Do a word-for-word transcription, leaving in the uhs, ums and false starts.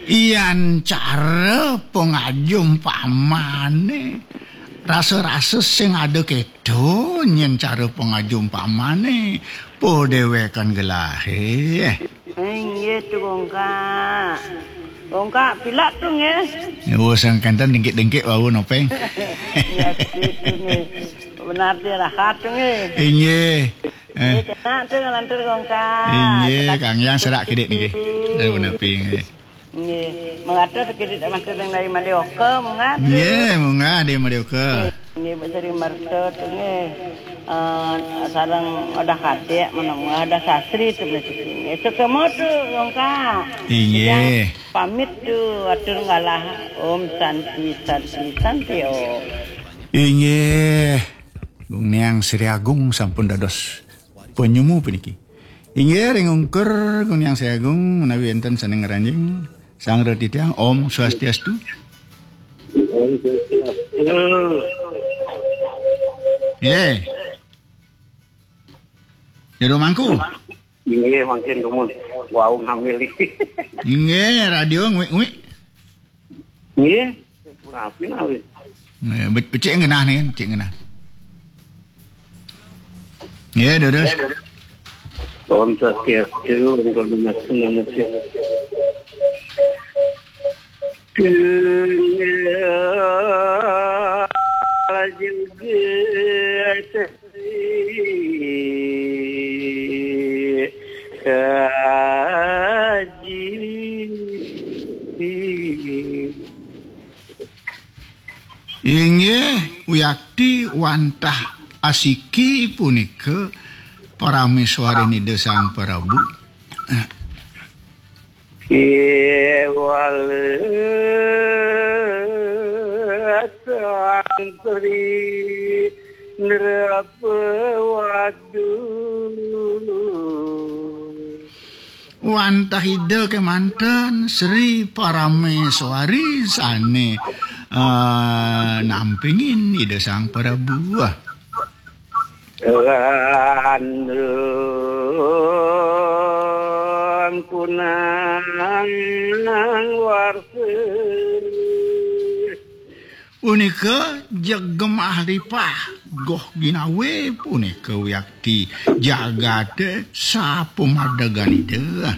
Yan cara pangajumpamané. Rasa-rasa sing ada kéto, nyén cara pangajumpamané. Padéwékan gelahé. Inggih tu, Gongkak. Gongkak, pilak tu, nggih. Wah, sangkanten dengkik-dengkik wau nopéng. Ya, gitu, nggih. Benar dia rahat tu, nggih. Inggih. Eh. Nggih, kena tu, ngelantur, Gongkak. Inggih, Kang Yang serak kidik niki. Saya menepi, nggih. Nggih, mengata sakit tak mata yang dari Madioka, munggah. Nggih, munggah dari Madioka. Nggih, Pak Seri Marta tu, nggih. Eh, sareng Odah Kadek, mana munggah Odah Sasri tu, nggih. Sukemo tu, Gongkak. Inggih. Ya, pamit tu, atur ngalah. Om Santi, Santi, Santi, Om. Inggih. Gung Niang Sri Agung sampun dados penyumu puniki. Inggih, ring ungkur Gung Niang Sri Agung menawi enten sané ngranjing. Sang Reti Tiang, Om Swastiastu. Om Swastiastu. Nggih. Jero mangku. Inggih, mangkin dumun. Wau ngambil. Inggih, radio nguik-nguik. Nggih. Rapi nawi. Nggih, be-, becik genah nih, becik genah. Nggih, terus. Om Swastiastu, Om Swastiastu, Om Swastiastu. Kenal juga kaji. Inggih, wiakti wantah asiki punika parameswarin Ida Sang Prabu. Kéwala santri nrapawadu. Wantah Ida kémanten Sri Parameswari sané, eh, nampingin Ida Sang Prabu. Lan kunang warsa. Punika jegem ahlipah goh ginawé punika wiakti jagaté sapumadegan Ida.